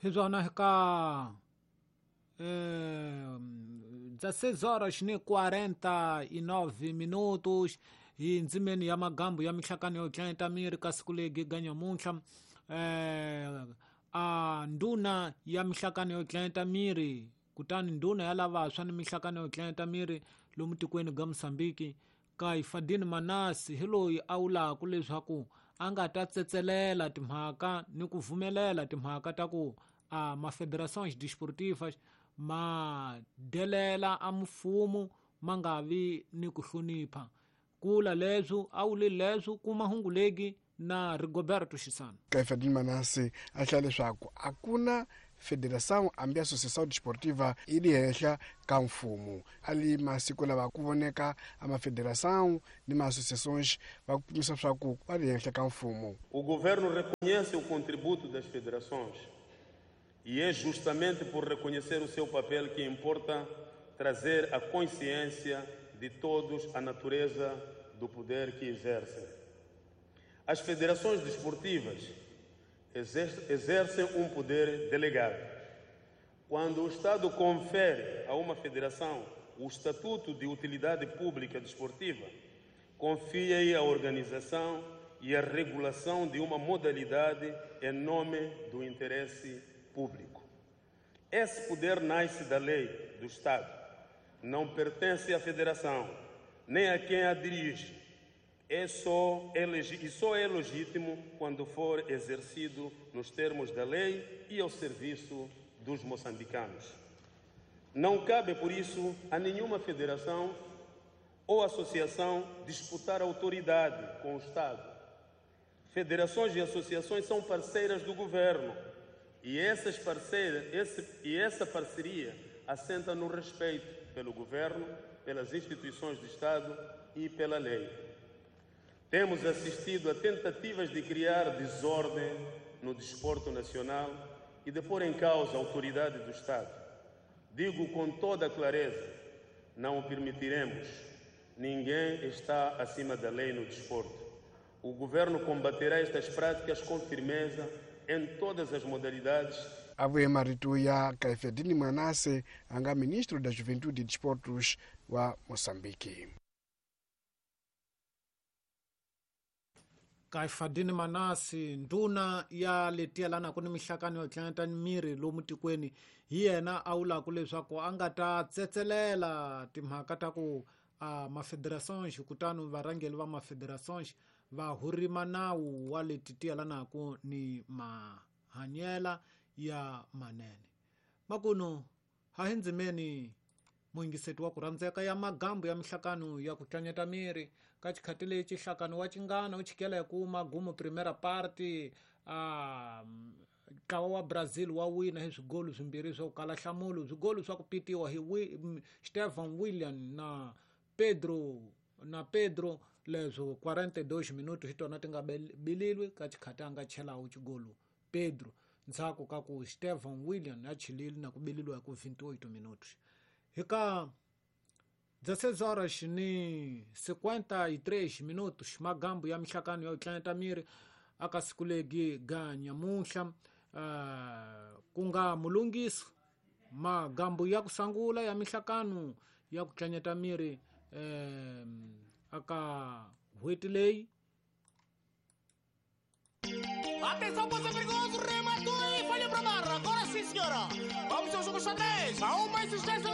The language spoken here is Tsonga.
Hi swona eka 16 horas ni 49 minutos hi ndzimeni ya magambu ya mihlakano yo tlanyeta miri ka siku legi ga nyamuntlha. A ndhuna ya mihlakano yo tlanyeta miri, kutani ndhuna ya lavantshwa ni mihlakano yo tlanyeta miri lomu tikweni ga Mosambiki, Kaifadini Manasi, hi loyi a vulaka leswaku a nga ta tsetselela timhaka ni ku pfumelela timhaka ta ku a mafederações desportivas ma delela a mfumo, ma nga vi ni ku hlonipha. Kula leswo a wuli leswo kuma hungu legi na Rigoberto Xisana. Kaifadini Manase a hlaya leswaku a ku na federação hambi associação desportiva yi li henhla ka mfumo. A li masiku lava ku voneka a mafederação ni ma-associações va kumisa swa ku va li henhla ka mfumo. O governo reconhece o contributo das federações e é justamente por reconhecer o seu papel que importa trazer a consciência de todos a natureza do poder que exercem. As federações desportivas exercem um poder delegado. Quando o Estado confere a uma federação o estatuto de utilidade pública desportiva, confia-lhe a organização e a regulação de uma modalidade em nome do interesse público. Esse poder nasce da lei do Estado, não pertence à federação, nem a quem a dirige. E só é legítimo quando for exercido nos termos da lei e ao serviço dos moçambicanos. Não cabe, por isso, a nenhuma federação ou associação disputar autoridade com o Estado. Federações e associações são parceiras do governo e essa parceria assenta no respeito pelo governo, pelas instituições do Estado e pela lei. Temos assistido a tentativas de criar desordem no desporto nacional e de pôr em causa a autoridade do Estado. Digo com toda a clareza, não o permitiremos. Ninguém está acima da lei no desporto. O governo combaterá estas práticas com firmeza em todas as modalidades. A vuye marito ya Kaifedini Manase, a nga ministro da Juventude e Desportos wa Moçambique. Kaifadini Manasi, ndhuna ya letiya ku ni mihlakano yo tlanyeta miri lomu tikweni, hi yena a vulaka leswaku a nga ta tsetselela timhaka ta ku mafederações, kutani varhangeri va mafederações va hurima nawu wa leti ti yelanaka ni mahanyela ya manene. Makuno ha hi ndzimeni muyingiseti wa ku rhandzeka ya magambu ya mihlakano ya ku tlanyeta miri ka xikhati lexi nhlakano wa Chingana wu chikela hi ku magumu primera parte ntlawa wa Brazil wa wina hi swigolu swimbirhi swo kala nhlamulo, swigolu swa ku pitiwa hi Stefan William na Pedro leswo 42 minutos hi tona ti nga bililwi ka xikhati a nga chelawu xigolu Pedro ndzhaku ka ku Stefan William a chilile na ku bililiwa hi ku 28 minutos. Hi ka 16 horas ni 53 minutos magambu ya mihlakano yo tlanyeta miri aka siku legi ga nyamuntlha, ku nga mulungisi magambu ya ku sangula ya mihlakano ya ku tlanyeta miri aka n'hweti leyi. Atenção, poça perigoso, rematou e falha para barra. Agora sim, senhora. Vamos ao jogo xadrez. Há uma insistência.